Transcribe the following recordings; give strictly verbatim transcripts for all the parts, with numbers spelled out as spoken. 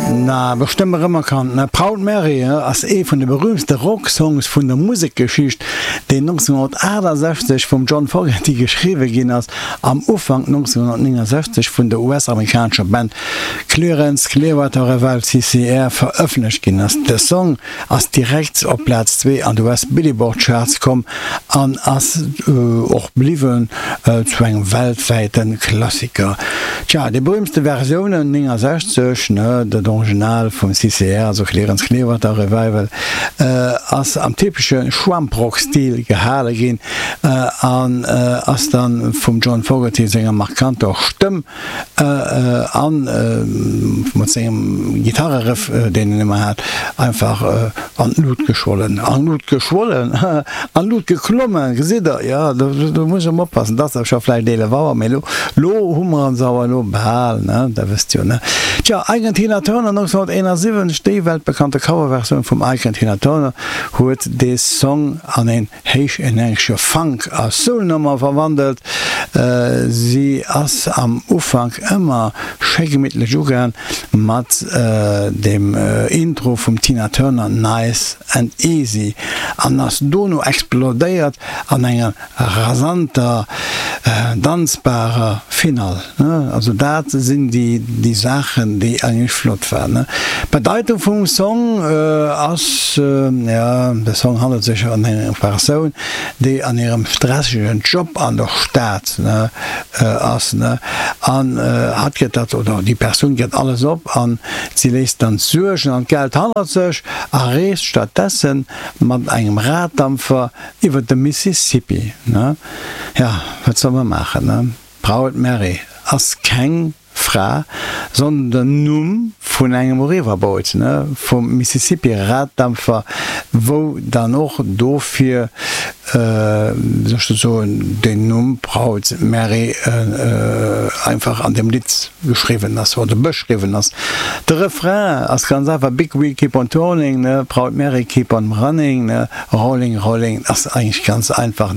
Na, bestëmmt erëmerkannt, ne? Proud Mary ass ee vun de berüümtste Rocksongs vun der Musekgeschicht, deen nonzénghonnertaachtasechzeg vum John Fogerty geschriwwe ginn ass, am Ufank nonzénghonnertnéngensechzeg vun der U S-amerikanescher Band Creedence Clearwater Revival, C C R, verëffentlecht ginn ass. De Song ass direkt op Plaz zwee an de U S Billboard Charts komm an ass och bliwwen zu engem weltwäite Klassiker. Tja, déi berüümtste Versiounen néngensechzeg, ne, dat Original vum C C R, also Creedence Clearwater Revival, ass am typesche Schwamprock-Stil gehale ginn an ass dann vum John Fogerty senger markanter Stëmm an mat sengem Gitarreriff, deen en ëmmer hat, einfach an d'Lut geschwollen, an d'Lut geschwollen, an d'Lut geklommen, gesitt der, jo, do muss ech emol oppassen, dat ass scho vläicht eelef Auer, mee elo, elo hu mer ons awer elo bal, ne, dat wësst jo, ne. Tja, Ike and Tina Turner nonzénghonnerteenasiwwenzeg, déi weltbekannte Coverversioun vum Ike and Tina Turner huet dee Song an een héichenergesche Funk a Soul-Nummer verwandelt. Si ass am Ufank ëmmer schéi gemittlech ugaang mat dem Intro vum Tina Turner Nice and Easy an ass dono explodéiert an enger rasanter, danzbarer Finall. Also dat sinn déi Saachen, déi eigentlech flott waren. D'Bedeitung vum Song ass, jo, de Song handelt sech ëm eng Persoun, déi an hirem stressegen Job an der Stad ass, an hatt gëtt dat, oder déi Persoun gëtt alles op an si léisst dann d'Suergen an d'Geld hannert sech a reest stattdessen mat engem Raddampfer iwwer de Mississippi. Jo, wat soll mer maachen? Proud Mary ass keng Fra, sondern den Numm vun engem Riverboat, vum Mississippi Raddampfer, wou dann och dofir, wéi soll ech dat soen, den Numm Proud Mary einfach an dem Lidd geschriwwen ass oder beschriwwen ass. De Refrain ass ganz einfach, Big wheel keep on turning, Proud Mary keep on running, rolling, rolling, ass eigentlech ganz einfach,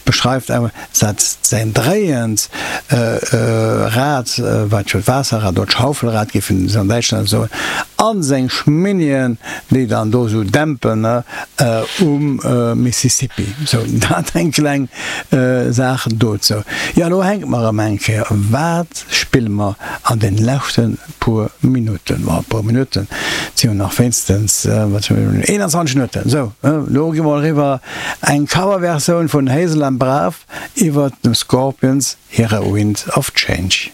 beschreift awer dat säin dréiend Rad, wat jo d'Waasserrad oder d'Schaufelrad géifen se an Däitschland soen, a seng Schminnien, déi dann do esou dämpen um Mississippi. Sou, dat eng kleng Saach dozou. Jo, elo hänke mer erëm eng Kéier. Wat spille mer an den leschte puer Minutten? Bon, puer Minutten, et si jo nach wéinstens, wat hu mir, eenanzwanzeg Minutten. Sou, elo gi mer eriwwer eng Coverversioun vun Hazel and Brav iwwert dem Scorpions hire Wind of Change.